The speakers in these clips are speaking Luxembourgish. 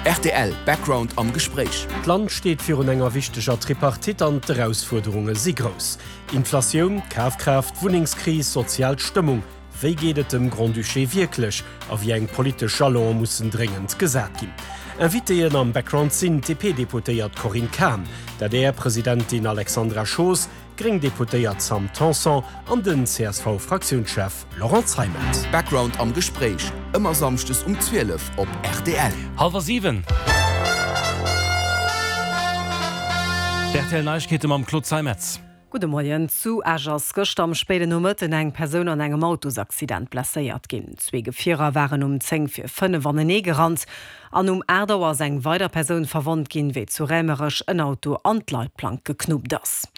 Rtl Background am Gespréich. D'Land steet virun enger wichteger Tripartite an d'Erausfuerderunge si grouss. Inflatioun, Kafkraaft, Wunnengskris, sozial Stëmmung. Wéi geet et dem Grand-Duché wierklech a wéi eng politesch Jalone mussen dréngend gesat ginn? Invitéen am Background sinn d'DP-Deputéiert Corinne Cahen, d'ADR-Presidentin Alexandra Schoos, d'gréng Deputéiert Sam Tanson an den CSV-Fraktiounschef Laurent Zeimet. Background am Gespréich, ëmmer samschdes um 12 op rtl. Hallwer 7. D'RTL Neiegkeete mam Claude Zeimetz. Gudde Moien. Zu Esch ass gëschter am spéiden Nomëtten eng Persoun an engem Autosaccident blesséiert ginn. Zwee Gefierer waren um 10 vir 5 anenee gerannt an um 8 Auer ass eng weider Persoun verwonnt ginn, wéi zu Raemerech en Auto an d'Leitplank geknuppt ass.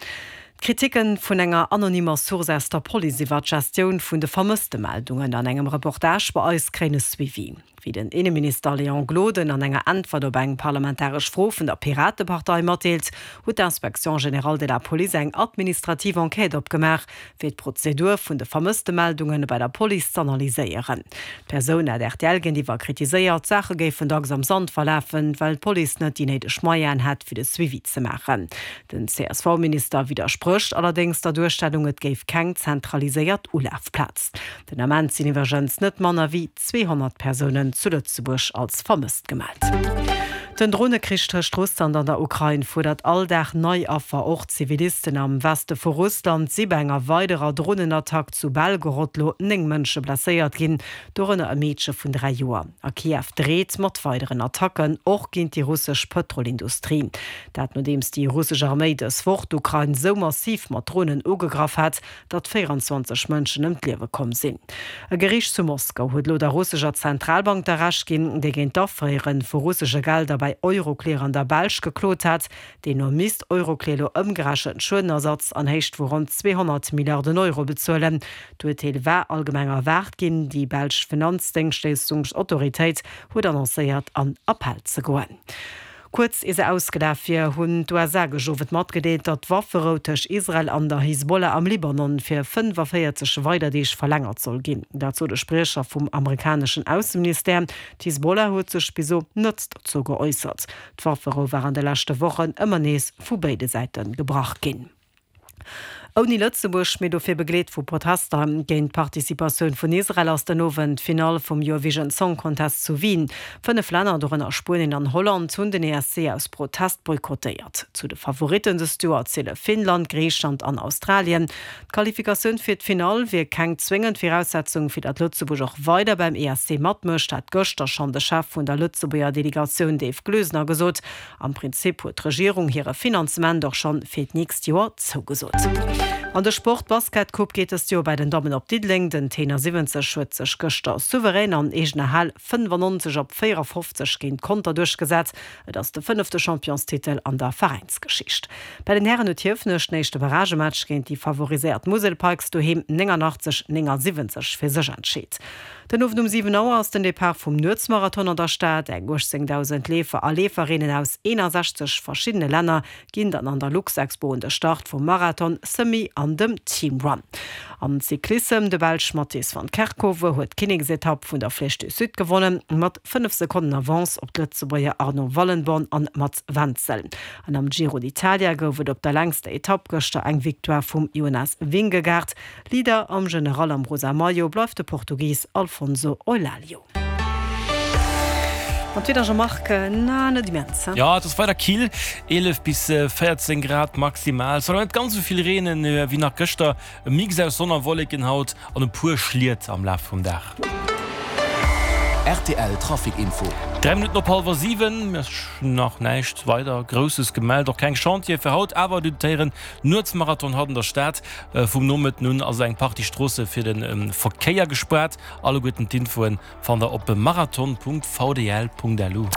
D'Kriticke vun enger anonymer Source aus der Police iwwer d'Gestioun vun de Vermësstemeldungen an engem Reportage bei eis kréien e Suivi. Wéi den Inneminister Léon Gloden an enger Äntwert op eng parlamentaresch Fro vun der Piratepartei matdeelt, huet d'Inspection générale de la police eng administrativ Enquête opgemaach, fir d'Prozedur vun de Vermësstemeldunge bei der Police z'analyséieren. D'Persoun hat rtl géintiwwer kritiséiert, d'Saache géifen dacks am Sand verlafen, well d'Police net déi néideg Moyenen hätt, fir de Suivi ze maachen. Den CSV-Minister widdersprécht allerdéngs der Duerstellung, et géif keng zentraliséiert Ulafplaz. Den Ament sinn iwwergens net manner wéi 200 Persounen zu Lëtzebuerg als vermësst gemellt. Den Dronekrich tëscht Russland an der Ukrain fuerdert all Dag nei Affer. Och Zivilisten am Weste vu Russland si bei enger weiderer Dronenattack zu Belgorod lo 9 Mënsche blesséiert ginn, dorënner e Meedche vun 3 Joer. A Kiew dreet mat weideren Attacken, och géint déi russesch Pëtrolindustrie. Dat nodeems déi russesch Arméi dës Woch d'Ukrain sou massiv mat Dronen ugegraff hat, datt 24 Mënschen ëm d'Liewe komm sinn. E Geriicht zu Moskau huet elo der russescher Zentralbank da Recht ginn, déi géint d'Afréiere vu russesche Gelder bei Euroclear an der Belsch geklot hat. Deemno misst Euroclear elo ëmgerechent Schuedenersatz an Héicht vu ronn 200 Milliarden Euro bezuelen. D'Urteel war allgemeng erwaart ginn. Déi belsch Finanzdéngschtleeschtungsautoritéit huet annoncéiert, an Appell ze goen. Kuerz ier se ausgelaf wier, hunn d'USA gëscht Owend matgedeelt, datt d'Wafferou tëscht Israel an der Hisbollah am Libanon fir 45 weider Deeg verlängert soll ginn. Dat sot e Spriecher vum amerikaneschen Ausseministère. D'Hisbollah huet sech bis elo net dozou geäussert. D'Wafferou war an de leschte Wochen ëmmer nees vu béide Säite gebrach ginn. Ouni Lëtzebuerg, mee dofir begleet vu Protester géint d'Participatioun vun Israel, ass den Owend d'Finall vum Eurovision Song Contest zu Wien. 5 Länner, dorënner Spuenien an Holland, hunn den ESC aus Protest boykottéiert. Zu de Favoritten dëst Joer ziele Finnland, Griichland an Australien. D'Qualifikatioun fir d'Finall wier keng zwéngend Viraussetzung, fir datt Lëtzebuerg och weider beim ESC matmécht, hat gëschter schonn de Chef vun der Lëtzebuerger Delegatioun Dave Gloesener gesot. Am Prinzip huet d'Regierung hire Finanzement och schonn fir d'nächst Joer zougesot. An de Sport, D'Basketcoupe geet dëst Joer bei den Dammen op Diddeleng. Den Tenor 70 huet sech gëschter souverän an eegener Hal 95 op 54 géint Conter duerchgesat. Et ass de fënnefte Championstitel an der Veräinsgeschicht. Bei den Hären huet Hiefenech den éischte Barragematch géint déi favoriséiert Musel Pikes doheem 89, 79 fir sech entscheet. Den Owend um 7 Auer ass den Depart vum Nuetsmarathon an der Stad. Eng 18.000 Leefer a Leeferinnen aus 61 verschiddene Länner ginn dann an der Luxexpo un de Start vum Marathon, Semi an dem Team Run. Am Cyclissem, De Belsch Mathies van Kerkhove huet d'Kinneksetapp vun der Flèche du Sud gewonnen, mat 5 Sekonnen Avance op d'Lëtzebuerger Arno Wallenborn an Mats Wenzel. An am Giro d'Italia gouf et op der längster Etapp gëschter eng Victoire vum Jonas Vingegaard. Leader am General am rosa Maillot bleift de Portugis Alfonso Eulalio. An d'Wieder Jean-Marc, na net immens, he? Jo, et ass weider kill, 11 bis 14 Grad maximal. Et soll awer net ganz esou vill reenen wéi nach gëschter. E Mix aus Sonn a Wolleken haut an e puer Schliet am Laf vum Dag. Rtl Trafic Info. 3 Minutten op hallwer 7, mir ass nach näischt weider Grousses gemellt, och keng Chantiere fir haut, awer du d'Héieren Nuetsmarathon haut an der Stad. Vum Nomëtten un ass eng Partie Stroosse fir de Verkéier gespaart. Alleguerten d'Infoen fannt der op marathon.vdl.lu.